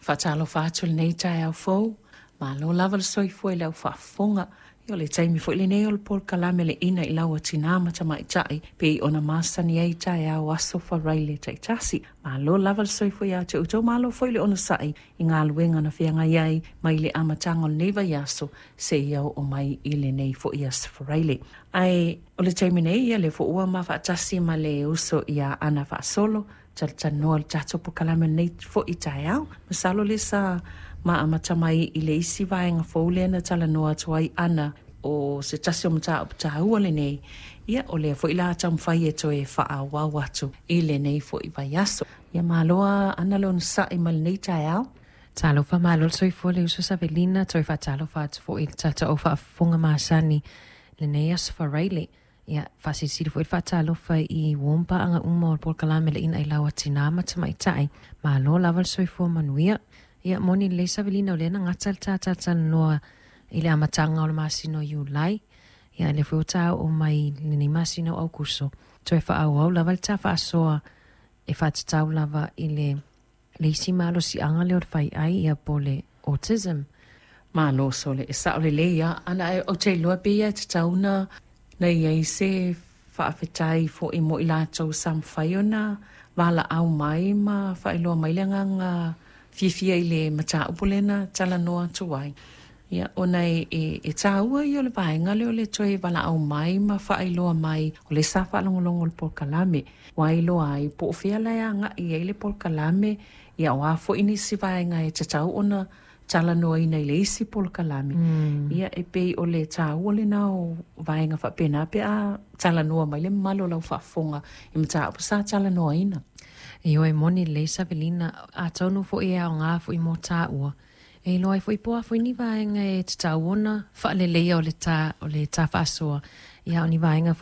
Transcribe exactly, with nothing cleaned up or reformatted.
Faatalofa atu i lenei taeao fou, malo lava le soifua i lau faafofoga. Ia o le taimi foi lenei o le polokalame le ina i lau atina ma tamaitai pei ona masani ai taeao aso Faraile taitasi. Malo lava le soifua ia te outou, malo foi le onosai i galuega na feagai ai mai le amataga o lenei vaiaso seia oo mai i lenei foi aso Faraile. Ae o le taimi nei, ia lea foi ua mafaatasi ma le uso ia Ana Faasolo, talatalanoa le tatou polokalame lenei foi taeao. Masalo le sa ma amata mai i le isi vaega fou lea na talanoa atu ai Ana o se tasi o mataupu taua lenei, ia o lea foi la taumafai e toe faaauau atu i lenei foi vaiaso. Ia malo Ana le onosai ma lenei taeao. Talofa, malo le soifua le uso Savelina, toe faatalofa atu foi i le tatou faafofoga masani lenei aso Faraile. Ia, faasilisili foi le faatalofa i uo ma paaga uma o le polokalame le ina i lau atinā ma tamaitai. Malo lava le soifua manuia. Ia, moni lelei Savelina o lea na gata le tātalanoa i le amataga o le masina o Iulai. Ia, lea foi ua taoo mai lenei masina o Aukuso. Toe faaauau lava le tā faasoa e faatatau lava i le le isi malosiaga lea o le faiai ia po o le autism. Malo sole, e sao lelei lava. Ana ou te iloa pei e tatau na na i ai se faafetai foi mo i latou sa mafai ona valaau mai ma faailoa mai le agaga fiafia i le mataupu lea na talanoa atu ai. Ia, ona e, e, e taua ia o le vaega lea o le toe valaau mai ma faailoa mai o le sa faalogologo o le polokalame. Ua iloa ai po o fea la e agai ai le polokalame, ia o a foi nisi vaega e tatau ona talanoaina i le isi polokalame. Mm. Ia e pei o le taua lena o vaega faapena pe a talanoa mai le mamalu o lau faafofoga i mataupu sa talanoaina. Ioe moni lelei Savelina, atonu foi e aoga foi mo tāua. E iloa ai foi po o a foi ni vaega e tatau ona faaleleia o le tā, o le tā faasoa. Ia o ni vaega